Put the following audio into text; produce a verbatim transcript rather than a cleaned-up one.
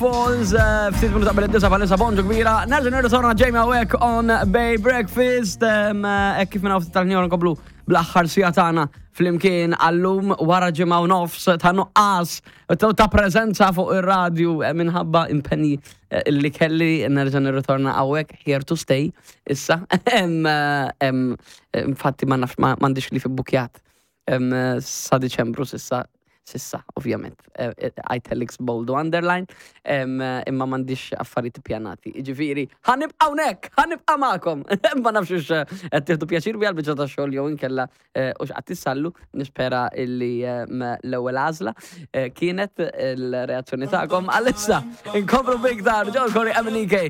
Falls, eh, ftit minuta qabel id-disgħa bħalissa bonġu kbira. Nerġa' nirritorna Jamie hawnhekk on Bay Breakfast, em, eh, kif minna ftit tal-ħin nkomplu bl-aħħar siegħa tagħna flimkien għallum wara ġimgħa u nofs ta' nuqqas ta' ta' preżenza fuq ir-radju eh, minħabba impenji eh, li kelli nerġa' nirritorna hawnhekk here to stay issa. Em, eh, em, Infatti ma nafx ma m'għandix li fi bukjat em, sa Diċembru s'issa s'issa, ovvjament. Eh, eh, Italics bold u underline, em, eh, imma m'għandix affarijiet pjanati. Ġifieri, ħa nibqa' hawnhekk, ħa nibqa' magħkom. Ma nafx hux qed tieħdu pjaċir bija l-biċċa ta' xogħol jew inkella eh, hux qed tissallu, nispera illi eh, l-ewwel għażla eh, kienet il-reazzjoni tagħkom. Għalissa, inkomplu biktar, Joel Corry, MNEK,